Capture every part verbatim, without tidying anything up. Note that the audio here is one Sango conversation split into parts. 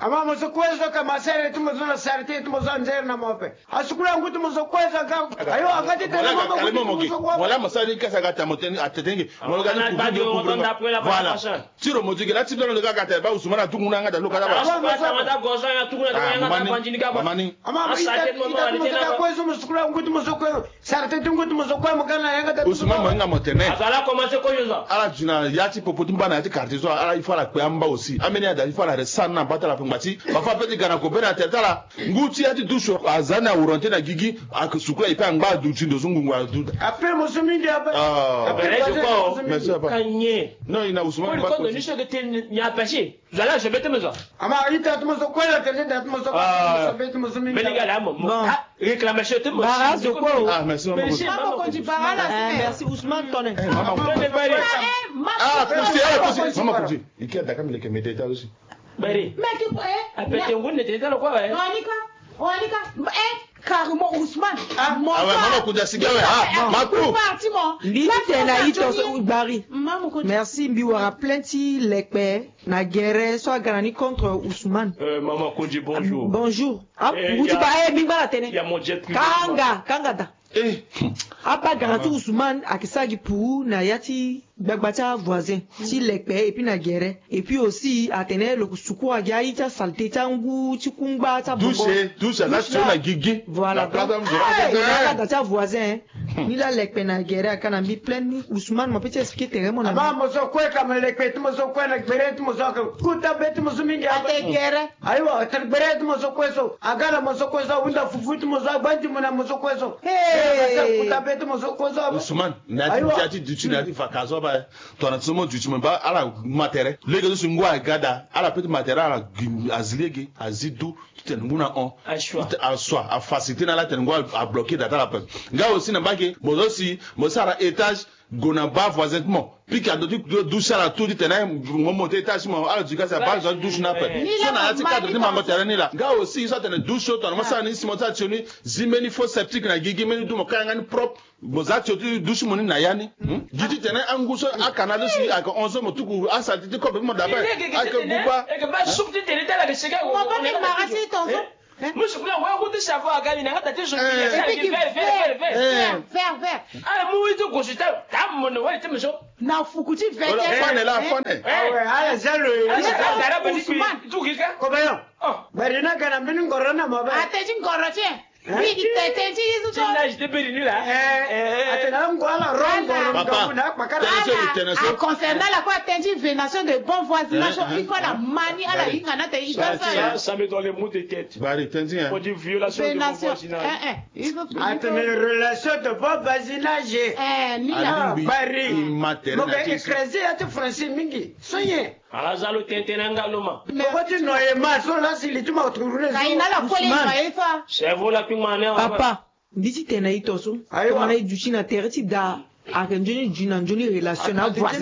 Ama mo so kue so ka ma sere ti mo so na sere ti mo so anzere na mo ape. Asukula ngu ti mo so kue so aga. Ayo aga ti tene mo mo ngu ti mo so kue. Wala mo sara ni kasa aga ta mo tene atete nge. Mo lo ga ni kuku nge kuku nge. Voilà. Ti lo mo ti ge la ti bia lo ga ga ta ba Ousmane atuku na nga da lo ka da ba. Ama mo so kue so mo sukula ngu ti mo so kue. Sara teti ngu ti mo so kue mo ga na yanga teti. Ousmane mo hinga mo tene. Azo ala commencé kozo. Ala duti na ya ti popo ti mba na ya ti quartier so ala il faut ala kpe amba aussi. Ambeni ada il faut ala reste sara na mba ti ala pe ngba ti. Bafa pe ti ga na kobela na tere ti ala. Ngu ti ya ti dusu aza ni awurante na gigi. Ake sukula e pe angba aduti ndo so ngungu aduti. Après mo so mingi ape. Ah. Après mo so mingi. Merci papa. Kanye. Non, il a Ousmane. Pour le compte de Niche de Ten, il y a apaché. Zo ala zo be ti mo zo. Ama ita ti mo zo kue la tene da ti mo zo kue ti mo zo be ti mo zo mingi. Belinga la mo. Bon. Ah, réclamation ti mo. Bara zo kue. Ah, merci maman. Merci maman. Bara la. Eh, merci Ousmane Tone. Eh, maman. Tone Bari. Ah, kusi, eh, kusi. Maman kusi. Iki adaka mi leke mede ta aussi. Bari. Meki ko eh. Apete ngunde te ta lo kue eh. Onika. Onika. Eh. Carrément Ousmane. Ah ouais, maman kuta siga ouais. Ah, maku. Parti mo. Mbi ti tene na ito so Bari. Maman kuta. Merci mbi wara plainte ti lekpe na gere so aga na ni contre Ousmane. Euh, maman Kondji, bonjour. Bonjour. Ah, eh, ngu ti ba eh mbi ngba na tene. Kanga, kanga da. Eh. Aba ga na ti Ousmane ake sara gi puru na ya ti gbagba ti avoisin ti lekpe et puis na gere. Et puis aussi atene lo ko sukura gi aye ti asalte ti angu ti kungba ti abongo. Douche, douche aza ti na gigi. Voilà donc. Aba ga na ti avoisin. Ni la lekpe na gere aka na mbi plainte ni Ousmane mo pe ti expliquer tere mo na. Aba mo so kue ka mo lekpe ti mo so kue na gbere ti mo so aka kuta be ti mo so mingi aba. Ate gere. Ayiwa ate gbere ti mo so kue so aga na mo so kue so ahunda fufu ti mo so agba ndimbo na mo so kue so. Hey. Kuta be ti mo so kue so aba. Ousmane. Na ya ti duti na ya ti vacances so aba. Tongana ti so mo duti mo ba ala ma tere lege so si ngu aga daa ala pe ti ma tere ala gi azi lege azi du. Ti tene ngu na hon. Asua afacilité na ala tene ngu abloqué daa ti ala ape. Nga aussi na mbage mo zo si mo sara étage gue na baa voisin ti mo. Pika ndo ti douche ala tout ti tene mo monté étage ti mo ala duti kasi abaa zo ti douche ni ape. So na ya ti cadre ti mango tere ni laa nga aussi so atene douche so tongana mo sara ni si mo sara tio ni zi mbeni faux septique na gigi mbeni du mo kanga ni propre. Mo za tio ti dusu mo ni na ya ni. Gi ti tene angu so akanal so si ayeke hon so mo tuku asalite ti kobe ti mo dape. Ayeke buba. Ayeke ba suku ti tene ti ala yeke sege. Mo ba mbi mara ti tonso. Mo suku na wa ngu ti savo aga ni na nga da ti zo. Vert vert vert. Vert vert. Ala mu wi ti gosi ta ta mo na wali ti mo so. Na fuku ti vert. Fane la fane. Awe ala za lo. Ala za lo. Tuki ka. Kobe yo. Bari na ga na mbeni ngoro na mo ba. Ate ti ngoro ti e. Biri tete ti Yezu to. Ti nage ti biri ni la. Eh, eh, eh. Atene angu ala rongo. Papa, tene so, tene so. A concernant la quoi, tene ti venation de bon voisinage, il faut la mani ala hinga na te i doit faire. Ça, ça met dans les maux de tête. Bari, tene ti, hein. On dit violation de bon voisinage. Eh, eh. Atene relation de bon voisinage. Eh, ni la. Bari. Mo ke écraser ya ti français mingi. So ye. Ala za lo tene tene anga lo ma. Poko ti noye ma so la si li ti ma tourner. Ka ina la kole noye fa. Cerveau la kpingba ne. Papa, mbi ti tene na ito so. Ayiwa. Tongana e duti na tere ti da. Ayeke nzoni duti na nzoni relation na voisin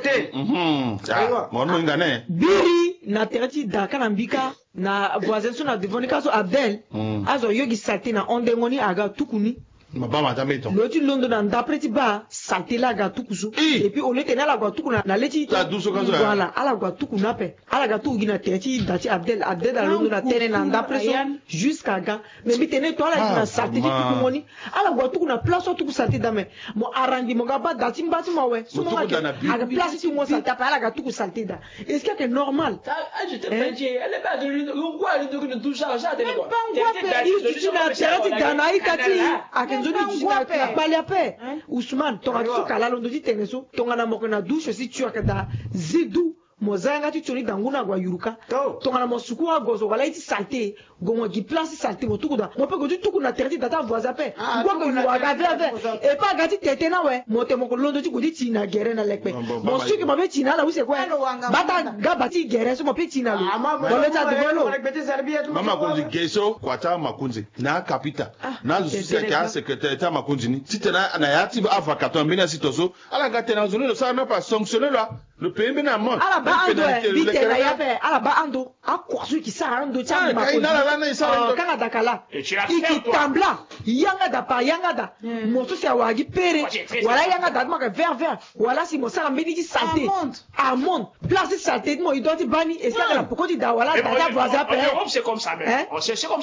ti. Mhm. Ah, mo mo inga ne. Biri na tere ti da ka na mbi ka. Na voisin so na devant ni ka so Abdel. Azo yo gi saleté na hondengo ni aga tuku ni. Lo ti londo na ndapre ti baa saleté laa aga tuku so. Et puis au lieu ti tene ala gue atuku na le ti. Voilà, ala gue atuku ni ape. Ala ga tuku gi na tere ti da ti Abdel. Abdel alondo na tene na ndapre so. Jusqu'à ga. Mais mbi tene to ala gi na saleté ti tukungo ni. Ala gue atuku na place so atuku saleté daa mais mo arrangé mo ga baa da ti mba ti mo awe. So mo ga ke ayeke place ti mo saleté ape ala ga tuku saleté daa. Est-ce que ayeke normal? I duti na tere ti da na a-ita ti i. Ayeke nzoni duti na kpali ape. Ousmane tongana ti so ka laa londo ti tene so tongana mo yeke na douche si tu yeke daa zi du. Mo za yanga ti tio ni da ngu na ague ayuruka. Tongana mo suku ago so wala ye ti saleté. Gue mo gi place ti saleté mo tuku daa mo pe gue ti tuku na tere ti da ti avoisin ape. Ngu ayeke yuru aga veve. E pe aga ti tete ni awe mo tene mo yeke londo ti gue ti ti na gere na lekpe. Mo suki mo pe ti na ala use kue. Bata ga ba ti gere so mo pe ti na lo. Mo lo ti adevant lo. Mama Konzi ge so kua ti amakonzi na akapita. Na azo so si ayeke asecrétaire ti amakonzi ni titene na ya ti avaka tongana mbeni asi to so. Ala ga tene na zo ni lo sara ni ape asanctionner lo. Lo paye mbeni amende. Ala baa ando. Mbi tene na ya ape ala baa ando. Akua so e ke sara na ndo ti amakonzi. Kanga dakala. E ke tambla. Yanga da par yanga da. Mo so si awara gi pere. Wala yanga da ti mo ayeke vert vert. Wala si mo sara mbeni ti saleté. Amonde. Place ti saleté ti mo e doit ti baa ni. E si ayeke na poko ti da wala da ti avoisin ape.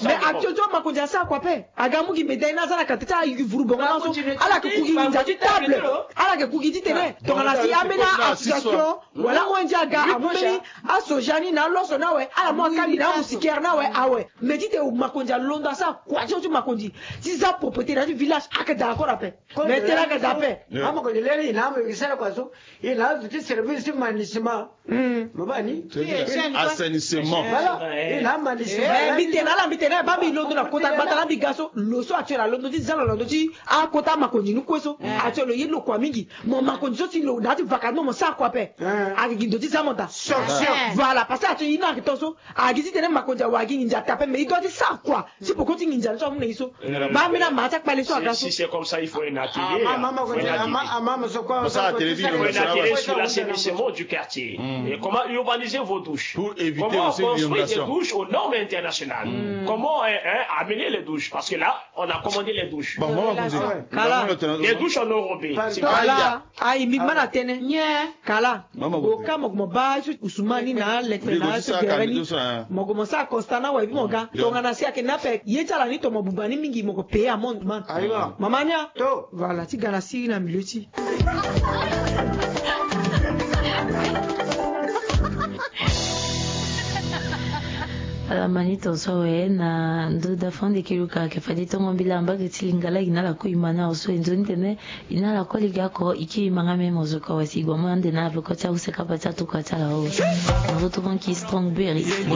Mais actuel ti amakonzi asara kua ape. Aga amu gi médaille ni aza na kate ti avuru bongo na so. Ala yeke ku gi nginza ti table. Ala yeke ku gi ti tene. Tongana si ambeni association wala O N G aga amu mbeni asoja ni na aloso ni awe, ala mu akali na amusikere ni awe awe. Mais ti tene makonzi alondo asara kua ti so ti makonzi ti za propriété na ya ti village ayeke daa encore ape. Mais tene ayeke daa ape. Amakonzi lere ni na amu e ke sara kua so. E na azo ti service ti manisement. Mo baa ni? Assainissement. Voilà. E na manisement. Mbi tene ala mbi tene baa mbi londo na kota gbata la mbi ga so lo so actuel alondo ti za lo na ndo ti akota makonzi ni kue so. Actuel lo ye lo kua mingi. Mo makonzi so ti lo na ya ti vacance mo mo sara kua ape. Ayeke gi ndo ti za mo daa. Voilà parce que actuel ye ni ayeke to so. Ayeke gi ti tene makonzi awe ayeke gi nginza taa ape mais e doit ti sara kua. Si poko ti nginza ni so amu na e so. Baa mbeni amaa ti akpale so aga so. Si c'est comme ça il faut un atelier. Sur l'assainissement du quartier. Et comment urbaniser vos douches. Pour éviter aussi l'inondation. Comment construire des douches aux normes internationales. Comment amener les douches. Parce que là, on a commandé les douches. Les douches en enrobé. Ayi mbi ma na tene. Kala. Oka mo ko mo baa so usumani na lekpe na so gere ni. Mo ko mo sara constat na wa ebi mo ga tongana si ayeke na ape ye ti ala ni to mo buba ni mingi mo ko paye amende man. Mama nia. Voilà ti ga na siri na milieu ti. Ala ma ni tonso awe na ndo da fande kiri ka ayeke fade tongo mbila mbage ti lingala e na ala kue e ma ni awe so e nzoni tene. E na ala kue lege oko e kiri ma nga me mo zo ka wa si e gue mo ande na ala peko ti ahuse kapa ti atuka ti ala o. Mo zo tongo nki strong berry.